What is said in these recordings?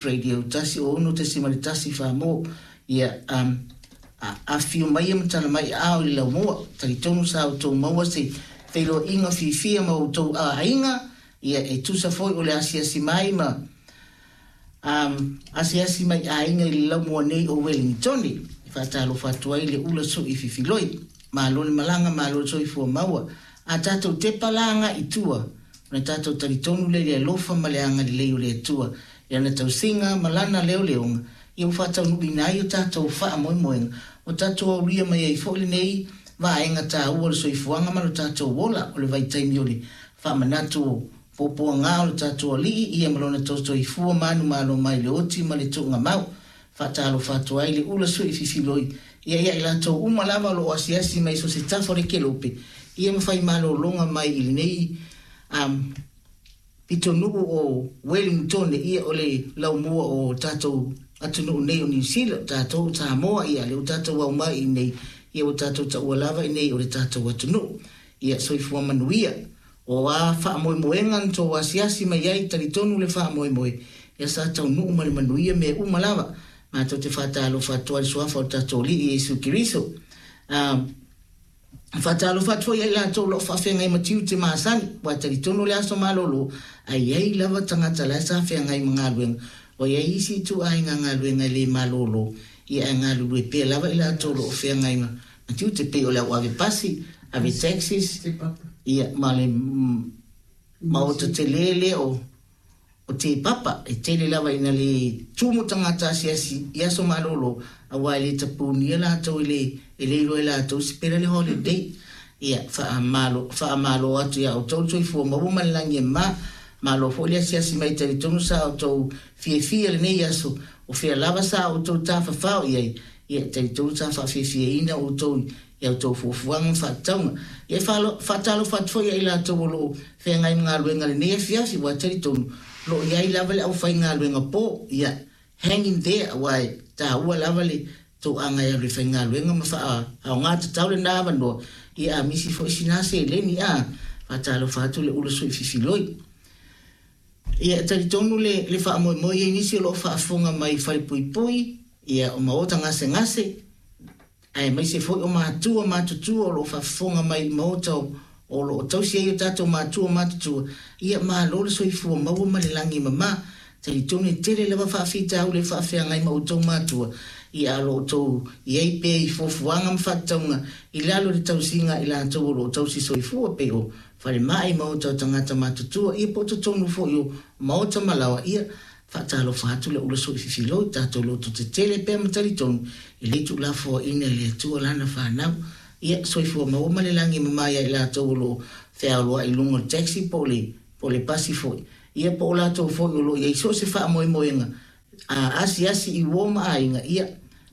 Radio 106.1 Samoa. Ia, um, afifio mai ma tala mai aao i le laumua. Talitonu sa outou maua se feiloaiga fiafia ma outou aiga, ia, e tusa foi o le asiasi mai ma um, asiasi mai aiga i le laumua nei o Wellingtone. E faatalofa atu ai le ula sui fifiloi. Malo le malaga, malo le soifua maua. A tatou tepa la agai i tua, ona tatou talitonu lea i le alofa ma le agalelei o le Atua, i Lana tausiga ma Lana leoleoga, ia ua faataunuuina ai o tatou faamoemoega, ua tatou aulia mai ai foi lenei vaega taua o le soifuaga ma lo tatou ola, o le vaitaimi o le faamanatu o puapuaga o lo tatou Alii, ia ma Lona tausoifua manumalo mai le oti ma le tuugamau. Faatalofa atu ai le ula sui fifiloi ia ia i latou uma lava o lo o asiasi mai so o se tafa o le kelope ia ma fai malologa mai i lenei um, pitonuu o Wellingtone, ia o le laumua o tatou atunuu nei o Niu Sila, o tatou o Samoa, ia lea ua tatou au mai i inei, ia ua tatou taua lava i inei o le tatou atunuu. Ia soifua manuia. O a faamoemoega na tou asiasi mai ai, talitonu le faamoemoe, ia sa taunuu ma le manuia mea uma lava. Matou te faatalofa atu ai i le Suafa o le tatou Alii Iesu Keriso. A, faatalofa atu foi ia i latou o lo o faafeagai ma tiute masani, aua e talitonu le aso malolo, a i ai lava tagata la e sa feagai ma galuega, ua i ai isi ituaiga galuega e le malolo, ia ae galulue pea lava i latou o lo o feagai ma tiute, pei o le au ave pasi, ave taxis, ia, ma le maota tele lea o o Te Papa, e tele lava ina le tumu tagata asiasi i aso malolo, aua e le tapunia latou e le e le iloa e latou se pela le holiday. Ia, faamalo, faamalo atu ia outou le soifua maua ma le lagi e mama. Malo foi le asiasi mai talitonu sa outou fiafia lenei aso, o fea lava sa outou tafafao i ai, ia e talitonu sa faafiafiaina outou i a outou fuafuaga ma faatatauga. Ia e faatalofa atu foi ia i latou o lo o feagai ma galuega i lenei afiafi, aua e talitonu, o lo o i ai lava le aufaigaluega po, ia, hang in there, aua e taua lava le toaga e alu e faigaluega ma faaaoga tatau lena avanoa, ia a misi foi sina seleni, a, faatalofa atu le ula sui fifiloi. Ia, e talitonu le, le faamoemoe i ai nisi o lo o faafofoga mai i falepuipui, ia, o maota gasegase, aemaise foi o matua matutua o lo o faafofoga mai i maota o lo o tausi ai o tatou matua matutua, ia malo le soifua maua ma le lagi e mama. Talitonu e tele lava faafitauli e faafeagai ma outou matua, ia a o lo o outou i ai pea i fuafuaga ma faatatauga i lalo o le tausiga a i latou o lo o tausi soifua pei o falemai, maota o tagata matutua, ia po o totonu foi o maota ma laoa, ia Faatalofa atu le ula sui fifiloi, tatou loto tetele pea ma talitonu, e le tuulafoaina e le Atua lana fanau. Ia, soifua maua ma le lagi e mama ia i latou o lo o feaoloai i luga o le taxi po o le, po o le pasi foi. Ia, po o latou foi o lo o i ai so o se faamoemoega a asiasi i uo ma aiga, ia,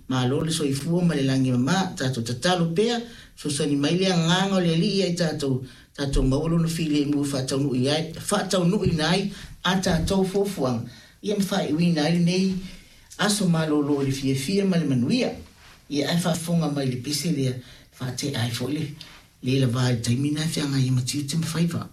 Malo le soifua ma le lagi mama, tatou tatalo pea, fesoasoani mai le agaga o le Alii ia i tatou, tatou maua lona filemu e faataunuu ai, faataunuuina ai a tatou fuafuaga, ia ma faaiuina ai lenei aso malolo i le fiafia ma le manuia. Ia ae faafofoga mai i le pese lea, e faatea ai foi le le lava i le taimi lena e feagai ai ma tiute ma faiva.